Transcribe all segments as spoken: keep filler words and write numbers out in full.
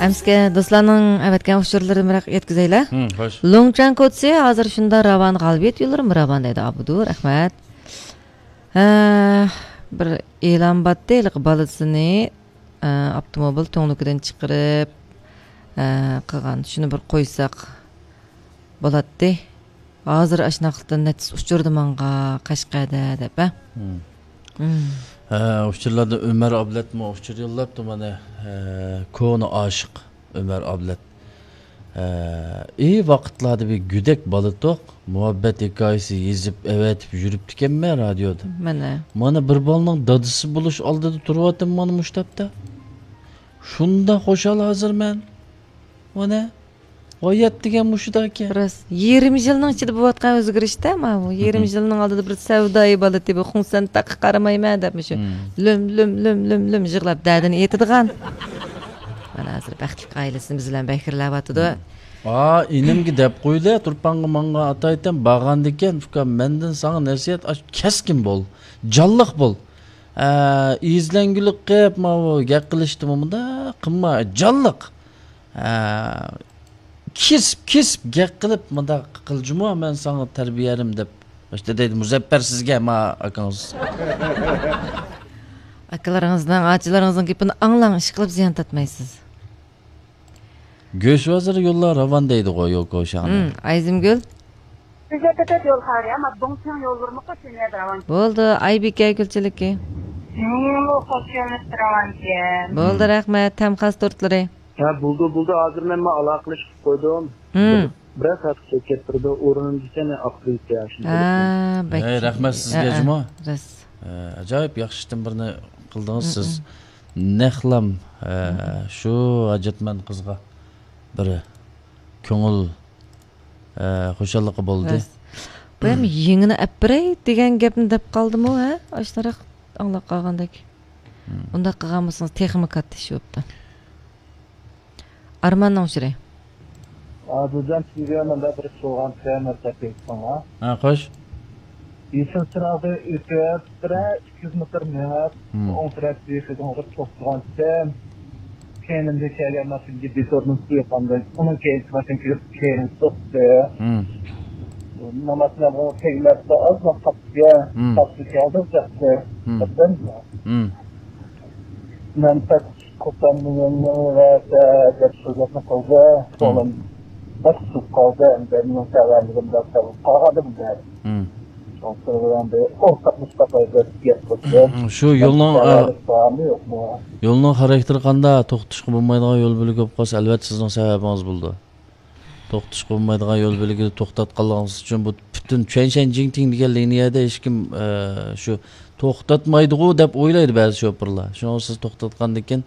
ئەمسىكە دوستلارنىڭ ئەۋەتكەن ئۇچۇرلىرىنى بىراق يەتكۈزەيلى. ھىم، خوش. لۇڭچۈەن كوچىسى ھازىر شۇنداق راۋان، غالىبىيەت يوللىرىمۇ راۋان دەيدۇ. ئابدۇ، رەھمەت. ھە، بىر ئېلان باتتى، ھېلىقى بالىسىنى، ئە، ئاپتوموبىل تۈڭلۈكىدىن چىقىرىپ، ئە، قىلغان. شۇنى بىر قويساق بولاتتى. ھازىر ئاشۇنداقلىقتىن نەچچىسى ئۇچرىدى ماڭا قەشقەردە دەپ، ھە؟ مم. مم. ھە، ئۇچۇرلاردا ئۆمەر ئابلەتمۇ ئۇچۇر يوللاپتۇ مانا، ھە، كونا ئاشىق ئۆمەر ئابلەت. ھە، ئى ۋاقىتلاردا بىر گۈدەك بالىتۇق، مۇھەببەت ھېكايىسى يېزىپ ئەۋەتىپ يۈرۈپتىكەنمەن رادىيودا. مانا. مانا بىر بالىنىڭ دادىسى بولۇش ئالدىدا تۇرۇۋاتىمەن مانا مۇشۇ تاپتا. شۇنداق خۇشال ھازىر مەن. مانا. غايەت دېگەن مۇشۇداكەن. راست. يېرىم يىلنىڭ ئىچىدە بولۇۋاتقان ئۆزگىرىشتە ماۋۇ. يېرىم مم. يىلنىڭ ئالدىدا بىر سەۋدايى بالىتى، بۇ خۇڭسەن تاققا قارىمايمەن دەپ مۇشۇ مم. لۆم، لۆم، لۆم، لۆم، لۆم يىغلاپ دەردىنى ئېيتىدىغان. مانا ھازىر بەختلىك ئائىلىسىنى بىز بىلەن بەكرىلەۋاتىدۇ. مم. ئا، ئىنىمگە دەپ قويدى، تۇرپانغا ماڭغان ئاتايتەم، بارغاندىكىن، ئۇكام، مەندىن ساڭا نەسىھەت، ئاش-، كەسكىن بول، جانلىق بول. ئە، ئېزىلەڭگۈلۈك قىپ، ماۋۇ گەپ قىلىشتىمۇ مۇنداق قىلما، جانلىق. ھە، كېسىپ، كېسىپ گەپ قىلىپ، مۇنداق قىل جۇمۇ، مەن ساڭا تەربىيەرىم دەپ. ئىشتە دەيدۇ، مۇزەپپەر سىزگە، ما ئاكىڭىز. ئاكىلىرىڭىزنىڭ، ئاچىلىرىڭىزنىڭ گېپىنى ئاڭلاڭ، ئىشقىلىپ زىيان تارتمايسىز. گۆش ۋازىرى يوللار راۋان دەيدىغۇ، يوكو شاڭ. ھىم، ئايزىمگۈل. سىزگە تېتەت يول خارى، ئەمما دۇڭچىڭ يوللىرىمۇ قوش دۇنيادا راۋان. بولدى، ئايبىكە گۈلچىلىكى. مېنىڭمۇ قوش يوللىرىم راۋانكەن. بولدى، ھىم. رەھمەت، تەم خاس تورتلىرى. ھە، بولدى، بولدى. ھازىر مەن مانا ئالاقىلىشىپ قويدۇم. ھىم. بىر، بىرەر سائەت كېتىپ كەتتۈرىدۇ. ئورنىمدىكەن ئاقتۇرۇۋېتىپ شۇنداق. ھە، بەك ھەي، رەھمەت سىزگە، ھە، جۇما. راست. ھە، ئاجايىپ ياخشى ئىشتىن بىرنى قىلدىڭىز سىز. ھىم. نەقلام، ھە، ھىم. شۇ ھاجەتمەن قىزغا بىر كۆڭۈل، ھە، خۇشاللىقى بولدى. راست. بۇ ھەم يېڭىنى ئەپ بېرەي دېگەن گەپنى دەپ قالدىمۇ، ھە؟ ئاشۇنداق ئاڭلاپ قالغاندەك. ھىم. ئۇنداق قىلغان بولسىڭىز تېخىمۇ كاتتا ئىش بوپتۇ. ئارماننىڭ ئۇچۇرى. ئادىلجان، سىزگە مەندە بىر سوئال بەرسەك بولسىڭىز. ھە، خوش. يېشىل چىراغدا ئۆتۈپ، بىرەر ئىككى يۈز مېتىر مېڭىپ، مم. ئوڭ تەرەپتىكى بىر توختىغانتىم. كەينىمدىن كەلگەن ماشىنا بىتورنى سۇيۇپ قالدى. ئۇنىڭ كەينىدىكى ماشىنا كىرىپ كەينىمدىن سوقتى. مم. ماشىنا بۇ تەگمەپتۇ، ئازلا قاپتىكەن. مم. قاپتىكەن، ئالدىم چاقتى. مم. بىردىن. مم. مەن قوپامنى يەنە ۋەتە دەپ سۆزلەپمۇ قالدى. مم. كۆڭلۈم بەك سۇسۇپ قالدى. ئەمدى مېنىڭ سەۋەنلىكىم بەك سەۋەب قالغانىدىم دە. مم. شۇڭا سىلەر بىلەن بىر ئورتاقلىشىپ باقاي دەپ گەپ قىلدىم. مم، شۇ يولنىڭ، ئە، سەۋەنلىك بارمۇ يوقمۇ؟ يولنىڭ خاراكتېرى قانداق؟ توختىتىشقا بولمايدىغان يول بۆلىكى بولۇپ قالسا، ئەلۋەتتە سىزنىڭ سەۋەبىڭىز بولىدۇ. توختىتىشقا بولمايدىغان يول بۆلىكىدە توختاتقانلىقىڭىز ئۈچۈن بۇ پۈتۈن چۈەنشەن جىڭتىڭ دېگەن لىنىيەدە ھېچكىم، ئە، شۇ توختاتمايدىغۇ دەپ ئويلايدۇ بەزى شوپۇرلار. شۇڭا سىز توختاتقاندىن كېيىن،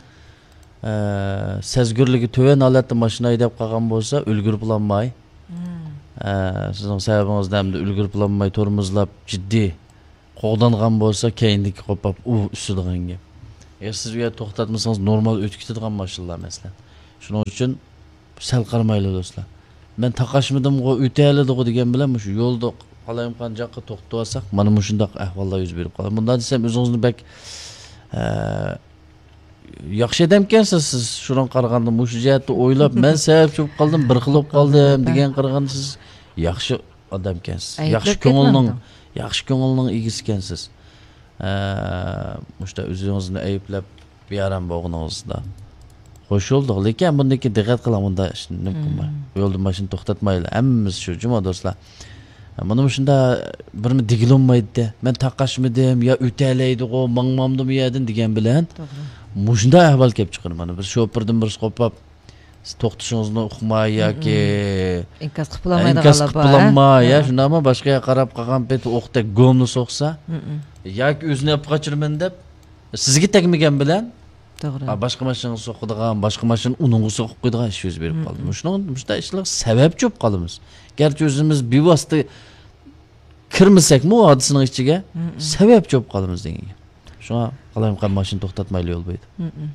ئە، سەزگۈرلۈكى تۆۋەن ھالەتتە ماشىنا ھەيدەپ قالغان بولسا، ئۈلگۈرۈپ بولالماي، مم. ئە، سىزنىڭ سەۋەبىڭىزدىن ئەمدى ئۈلگۈرۈپ بولالماي تورمۇزلاپ جىددىي قوغدانغان بولسا، كەينىدىكى قوپاپ ئۇ ئۈسىدىغان گەپ. ئەگەر سىز ئۇ يەردە توختاتمىسىڭىز، نورمال ئۆتۈپ كېتىدىغان ماشىنىلار، مەسىلەن. شۇنىڭ ئۈچۈن سەل قارىمايلى، دوستلار. مەن تاقاشمىدىمغۇ، ئۆتەلىدىغۇ دېگەن بىلەن مۇشۇ يولدا قالايمىقان جاققا توختىتىۋالساق، مانا مۇشۇنداق ئەھۋاللار يۈز بېرىپ قالىدۇ. مۇنداق دېسەم، ئۆزىڭىزنى بەك، ئە، ياخشى ئادەمكەنسىز سىز. شۇنىڭغا قارىغاندا، مۇشۇ جەھەتتە ئويلاپ، مەن سەۋەبچى بولۇپ قالدىم، بىر خىل بولۇپ قالدىم دېگەن قارىغاندا، سىز ياخشى ئادەمكەنسىز. ئەيىبلەپ ياخشى كۆڭۈلنىڭ، كەتمەڭ. ياخشى كۆڭۈلنىڭ ئىگىسىكەنسىز. ئە، مۇشۇنداق ئۆزىڭىزنى ئەيىبلەپ، بىئارام بولغىنىڭىزدا. خوش بولدۇق. لېكىن بۇندىن كېيىن دىققەت قىلىڭ، بۇنداق ئىشنى نېمە قىلماي. مم. يولدا ماشىنا توختاتمايلى. ھەممىمىز شۇ جۇما، دوستلار. مانا مۇشۇنداق بىرمۇ دېگىلى بولمايدۇ. مەن تاقاشمىدىم، يا ئۆتەلەيدىغۇ، ماڭمامدىمۇ يەردىن دېگەن بىلەن توغرا. مۇشۇنداق ئەھۋال كېلىپ چىقىدۇ. مانا بىر شوپۇردىن بىرسى قوپاپ، سىز توختىشىڭىزنى ئۇقماي ياكى مم. ئىنكاس قىلىپ بولالمايدىغانلار بار، ھە؟ قىلالماي، يا ھە. شۇنداقمۇ باشقا يەرگە قاراپ قالغان پېتى ئوقتەك گومنى سوقسا، مم. ياكى ئۆزىنى ئېلىپ قاچىمەن دەپ، سىزگە تەگمىگەن بىلەن، توغرا. ھا، باشقا ماشىنىغا سوقىدىغان، باشقا ماشىنا ئۇنىڭغا سوقۇپ قويىدىغان ئىش يۈز بېرىپ قالدى. مم. مۇشۇنىڭ، مۇشۇنداق ئىشلارغا سەۋەبچى بولۇپ قالىمىز. گەرچە ئۆزىمىز بىۋاسىتە كىرمىسەكمۇ ھادىسىنىڭ ئىچىگە، مم. سەۋەبچى بولۇپ قالىمىز دېگەن گەپ. شۇڭا قالايمىقان ماشىنا توختاتمايلى يول بويىدا. مم.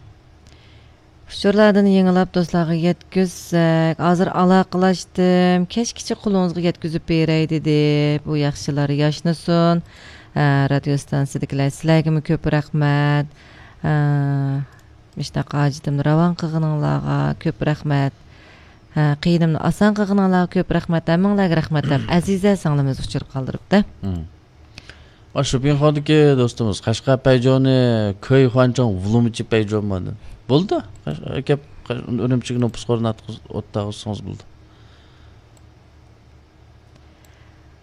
ئۇچۇرلاردىن يېڭىلاپ دوستلارغا يەتكۈزسەك، ھازىر ئالاقىلاشتىم، كەچكىچە قولىڭىزغا يەتكۈزۈپ بېرەي دېدى. بۇ ياخشىلار ياشنىسۇن. ھە، رادىيو ئىستانسىدىكىلەر، سىلەرگىمۇ كۆپ رەھمەت. ھە، مۇشۇنداق ھاجىتىمنى راۋان قىلغىنىڭلارغا كۆپ رەھمەت. ھە، قىيىنىمنى ئاسان قىلغىنىڭلارغا كۆپ رەھمەت. ھەممىڭلارغا رەھمەت دەپ، ئەزىزە سىڭلىمىز ئۇچۇر قالدۇرۇپتۇ. مم. ئاشۇ پىڭخودىكى دوستىمىز، قەشقەر پەيجونى كۆي خۇەنچاڭ ۋۇلۇمچى پەيجون ماندىن. بولدى. قەش-، كەپ، قەش-، ئۈرۈمچىگە نوپۇس قورۇنى ئوتتاغۇزسىڭىز بولدى.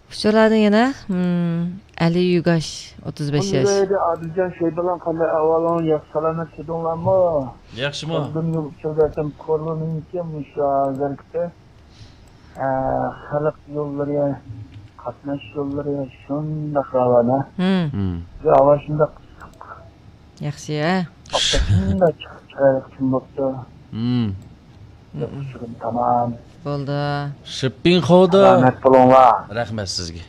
ئۇچۇرلاردىن يەنە، مم، ئەلى يۈگاش، ئوتتۇز بەش ياش. ئادىلجان شەيبالان، قانداق ئەھۋالىڭ؟ ياخشى سالامەت كەلدىڭلارمۇ؟ ياخشىمۇ؟ ئۇزۇن يىل ئۇچۇر بەرسەم، كورلىنىڭكى مۇشۇ ھازىرقى، ئە، خەلق يوللىرى، قاتناش يوللىرى شۇنداق راۋان، ھە؟ مم. مم. بۇ ھاۋا شۇنداق ئىسسىق. ياخشى، ھە؟ ئاپتاپتىن چىقىپ چىرايلىق كۈن بوپتۇ. مم. ياخشىغىن تامام. بولدى. شىپپىڭخودا. سالامەت بولۇڭلار. رەھمەت سىزگە.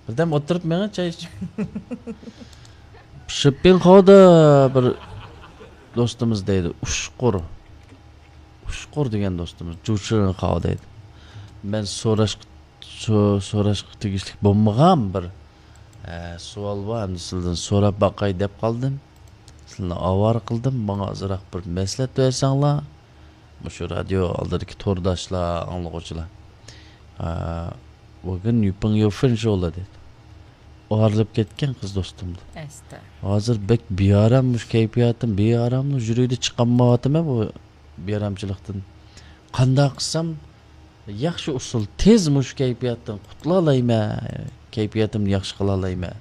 بىردەم ئولتۇرۇپ مېڭە چاي ئىچىپ. شىپپىڭخودا بىر دوستىمىز دەيدۇ، ئۇشقۇر. ئۇشقۇر دېگەن دوستىمىز، جۇچىرىنخاۋ دەيدۇ. مەن سوراشقا، سو-، سوراشقا تېگىشلىك بولمىغان بىر، ئە، سوئال بار، ئەمدى سىلىدىن سوراپ باقاي دەپ قالدىم. سىلىنى ئاۋارە قىلدىم، ماڭا ئازراق بىر مەسلىھەت بەرسەڭلار. مۇشۇ رادىيو ئالدىدىكى تورداشلار، ئاڭلىغۇچىلار. ئا، بۈگۈن يۈپىڭ يۈفېن شولا دېدى. ئايرىلىپ كەتكەن قىز دوستۇمدىن. ئەستە. ھازىر بەك بىئارام، مۇشۇ كەيپىياتىم بىئاراملىق، يۈرىكىدە چىقالمايۋاتىمەن بۇ بىئارامچىلىقتىن. قانداق قىلسام ياخشى ئۇسۇل، تېز مۇشۇ كەيپىياتتىن قۇتۇلالايمەن، كەيپىياتىمنى ياخشى قىلالايمەن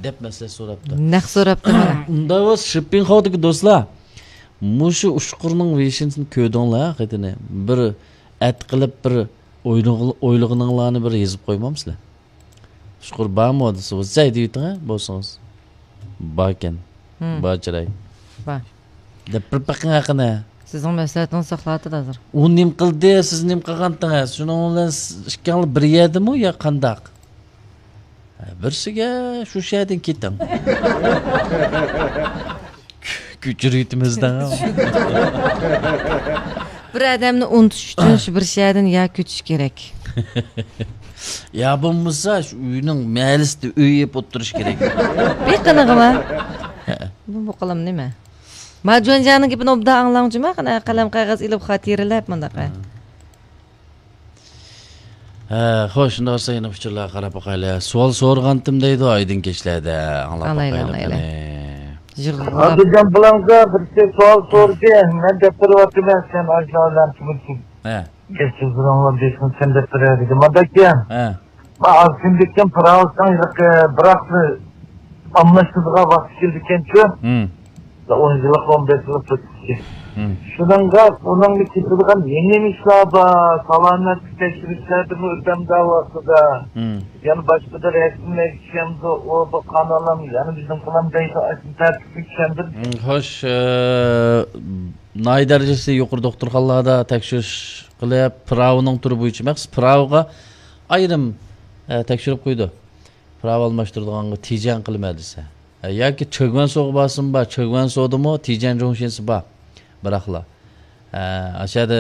دەپ مەسلىھەت سوراپتۇ. نەق سوراپتۇ مانا. ئۇنداق بولسا، شىپپىڭخودىكى دوستلار، مۇشۇ ئۇچقۇرنىڭ ۋېشىنىسىنى كۆردۈڭلار، قېتىنى. بىر ئەت قىلىپ، بىر ئويلىغ-، ئويلىغىنىڭلارنى بىر يېزىپ قويمامسىلەر؟ ئۇچقۇر بارمۇ دېسە، ۋاچاي دېيىۋېتىڭ، ھە، بولسىڭىز. باركەن. مم. بار چىراي. بار. دەپ بىر بېقىڭ ھەققىنى. سىزنىڭ مەسلىھەتىڭىز ساقلاۋاتىدۇ ھازىر. ئۇ نېمە قىلدى، سىز نېمە قىلغانتىڭىز؟ شۇنىڭ بىلەن سىز ئىككىڭلار بىر يەردىمۇ يا قانداق؟ ھە، بىرسىگە شۇ شەھەردىن كېتىڭ. كۆچۈرۈۋېتىمىز دەڭ. بىر ئادەمنى ئۇنتۇش ئۈچۈن شۇ بىر شەھەردىن يا كۆچۈش كېرەك. يا بولمىسا شۇ ئۆينىڭ مەھەللىسىدە ئۆي يەپ ئولتۇرۇش كېرەك. بىر قېنىغىما؟ بۇ، بۇ قىلىم نېمە؟ ما جۇەنجياڭنىڭ گېپىنى ئوبدان ئاڭلاڭ جۇما، قېنى، قەلەم قەغەز ئېلىپ خاتىرىلەپ مۇنداق. ھە. ھە، خوش، شۇنداق بولسا يەنە ئۇچۇرلارغا قاراپ باقايلى. سوئال سورىغانتىم دەيدۇ، ئايدىڭ كەچلەردە. ئاڭلاپ باقايلى، ئاڭلايلى، قېنى. يىغلاپ. ئادىلجان بالامغا بىرسى سوئال سورىدى. مەن دەپ بېرىۋاتىمەن، سەن ئاشۇلار بىلەن تۇرۇشۇپ. ھە. گەپ سۆزلىرىڭلار بېسىڭ سەن دەپ بېرەر دېدى. مانداكەن. ھە. ما ئاز كۈندىكىن پىراۋىسىڭ ھېلىقى بىراقنى ئالماشتۇرىدىغان ۋاقتى كېلىدىكەنچۇ. ھىم. ئون يىللىق، ئون بەش يىللىق تۇتۇشى. ھىم. شۇنىڭغا ئۇنىڭغا كېتىدىغان يېڭى ئىشلار بار، سالامەتلىك تەكشۈرۈشلەردىمۇ ئۆتەمدۇ ۋاقتىدا. ھىم. يەنە باشقىدا رەسىملەرگە چۈشەمدۇ، ئۇ بۇ قانالام يەنە بىزنىڭ قىلام دەيدۇ، ئاشۇ تەرتىپلىك چۈشەندىم. ھىم، خوش، ئە، ناھىيە دەرىجىسى يۇقىرى دوختۇرخانىلاردا تەكشۈرۈش قىلىپ، پىراۋىنىڭ تۈرى بويىچە مەخسۇس پىراۋىغا ئايرىم، ئە، تەكشۈرۈپ قويىدۇ. پىراۋا ئالماشتۇرىدىغانغا تىجەن قىلىمەن دېسە. ھە، ياكى چېگۋەنسوغا بارسىمۇ بار، چېگۋەنسودىمۇ تىجەن جۇڭشىنسى بار. بىراقلا، ھە، ئاشۇ يەردە